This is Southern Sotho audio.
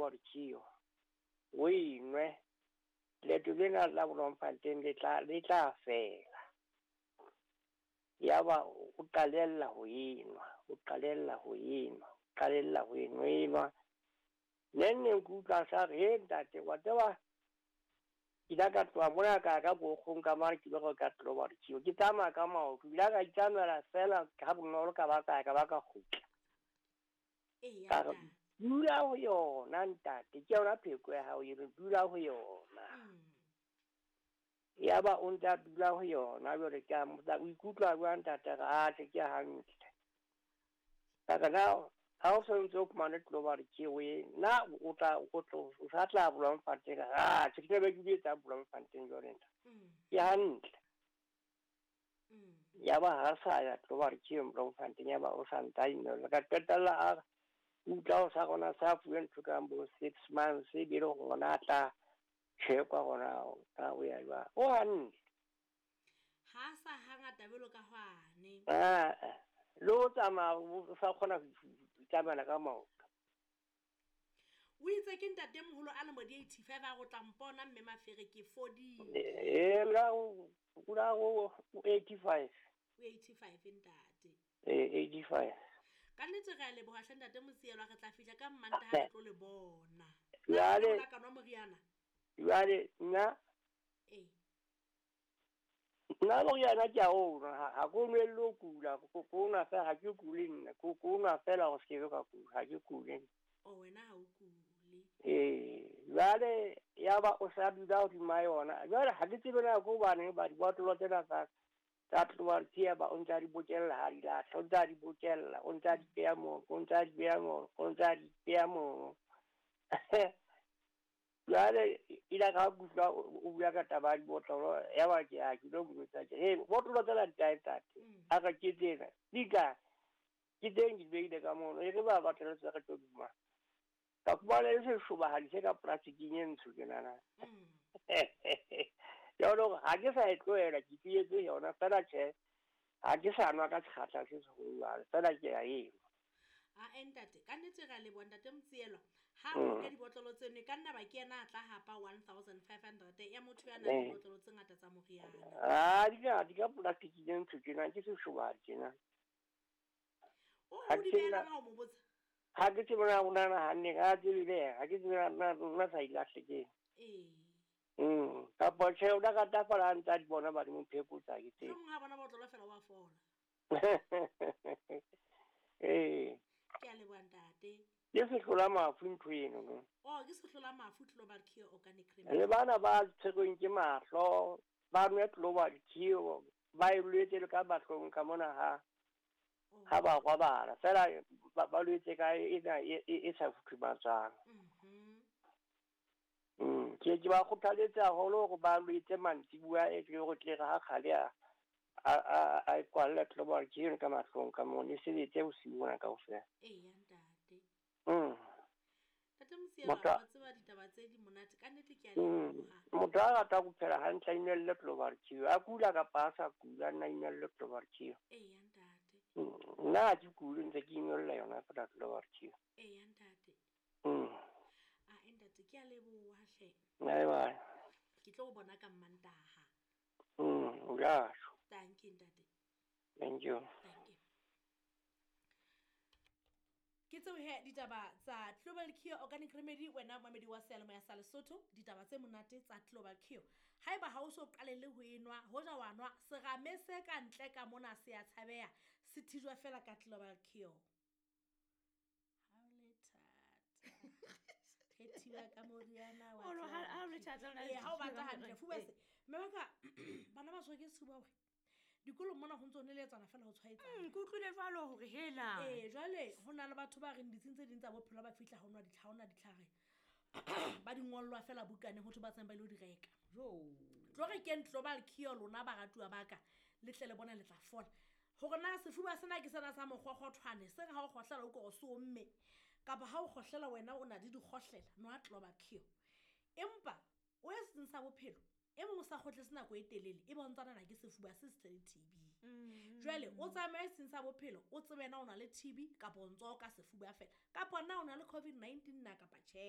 Global Cure o e nwe, leeto lena la Bloemfontein le tla le tla fela. Yaba o qalella ho enwa, o qalella ho enwa, o qalella ho enwa, enwa. Neng neng ke utlwa sa re, he ntate, wa tseba ke ile ka tloha mona ka ya ka Bookgong ka mane ke lo reka Global Cure. Ke tsamaya ka maoto, ke ile ka itsamaela fela ha bonolo ka ba ka ya ka ba ka kgutla. Ka re, dula ho yona ntate, ke yona pheko ya hao eno, dula ho yona. Yaba o ntse a dula ho yona, jwale ke a mmotsa, o ikutlwa jwang ntate? A re, atjhe ke hantle. Ka re, na ha o santse o fumane Global Cure e, na o tla o tlo o sa tla Bloemfontein? Atjhe, ke tla be ke di etsang Bloemfontein jwale ntate. Ke hantle. Yaba ha sa ya Global Cure Bloemfontein, yaba o sa ntsa inwella. Ka qetella a utlwa o sa rona sa fuwe ntho kang bo 6 months, e be le hore ona a tla checkwa hona na o ya jwang. O hantle. Ha sa hangata jwalo ka hwane. Ah, le o tsamaya o sa kgona ho itsamaela ka maoto. O itse ke ntatemoholo a lemo di 85 a go tla mpona mme Mafere ke fodile. Eh, la o la o 85. O 85 ntate. Eh, 85. Ka nnete re a leboha hle ntate Motsielwa, re tla fihla ka Mmantaha re tlo le bona. Jwale ka nwa moriana. Jwale nna Eh. Nna moriana ke a o nwa, ha ke o nwelle ho kula, ko nwa fela, ha ke kule nna, ko nwa fela hore se ke ka kula, ha ke kule. O wena ha o kule. Eh, jwale yaba o sa dula hodima yona. Jwale ha ke tsebe na ke hobaneng ba dibotlolo tsena tsa tsa Global Cure ba o ntsa di bokella ha di lahla, o ntsa di bokella, o ntsa di beha moo, o ntsa di beha moo, o ntsa di beha moo. Jwale ile ka kutlwa o bua ka taba ya dibotlolo, yaba ke a ke lo mo jwetsa ke, "Hey, botlolo tsena di kae ntate?" A re ke tsena. Di kae? Ke teng di behile ka mono. E re ba batlele tse re tlo duma. Ka fumana e seshobahadi se ka plasticing e ntsho tjenana. Jwale hore ha ke sa e tlohela, ke tietse yona fela tjhe. Ha ke sa nwa ka sekgahla se seholo jwale, fela ke a enwa. A ntate, ka nnete re a leboha ntate Motsielwa. Ha o ka dibotlolo tseno, e ka nna ba ke yena a tla hapa 1500 ya motho ya nang le dibotlolo tse ngata tsa moriana. Ah, di ka di ka plasticing e ntsho tjena, ke seshobahadi tjena. O o di behelang ha o mo botsa? Ha ke tsebe na o nahana hanne, ha tsebe le yena, ha ke tsebe na nna sa ilahle ke. Ee. Kapa tjhe, o la rata fela ha ntse a di bona ba di mo phekotsa, ke tsebe. Mohlomong ha bona botlolo fela wa fola. Ee. Ke a leboha ntate. Ke sehlola mafu ntho eno no. Oh, ke sehlola mafu Global Cure Organic Remedy. Le bana ba tshwerweng ke mahlo, ba nwe Global Cure, ba e lwetse le ka mahlong ka mona ha ha ba robala fela ba lwetse ka ena e sa futhumatswang. Ke ke ba kgothaletse haholo hore ba lwetse mantsibuya e tle hore tle re ha kgale a e kwalle Global Cure ka mahlong ka mona, e sebetse bosiu bona kaofela. Eya ntate. Ntate Motsielwa, wa tseba ditaba tse di monate ka nnete ke a leboha. Motho a rata ho phela hantle a inwelle Global Cure, a kula kapa a sa kula, nna inwelle Global Cure. Eya ntate. Nna ha ke kule ntse ke inwella yona fela Global Cure. Eya ntate. A ntate ke a leboha hle. Bye bye. Ke tlo bona ka Mmantaha. Jasho. Thank you ntate. Thank you. Thank you. Ke tseo he ditaba tsa Global Cure Organic Remedy, wena momedi wa seyalemoya sa Lesotho, ditaba tse monate tsa Global Cure. Haeba ha o so qalelle ho enwa, hoja wa nwa, serame se ka ntle ka mona se a tshabeha, se thijwa fela ka Global Cure. Ha o le thata. Re thiba ka moriana wa Oro, ha o le thata, o na le Ee, ha o batla thiba. hantle, fuba se. Mme wa ka, bana ba tshwerwe ke sefuba hore dikolong mona ho ntse ho neletsana fela ho tshwaetsana. Ke utlwile jwalo hore hela. Ee, jwale ho na le batho ba reng ditsing tse ding tsa bophelo ba fihla ho nwa ditlhare, ho na ditlhare. Ba di ngollwa fela bukaneng ho thwe ba tsamaye ba ilo di reka. Jo. Tlo re keng Global Cure lona baratuwa ba ka, le tle le bone le tla fola. Hore na sefuba sena ke sena sa mokgokgothwane, se re ha o kgohlela o kore se omme, kapa ha o kgohlela wena o na le dikgohlela, nwa Global Cure. Empa o ye setsing sa bophelo, e mong o sa kgotletse nako e telele, e bontshana na ke sefuba se setle le TB. Jwale o tsamaye setsing sa bophelo, o tsebe na o na le TB kapa o ntso ka sefuba fela, kapa na o na le COVID-19 na kapa tjhe.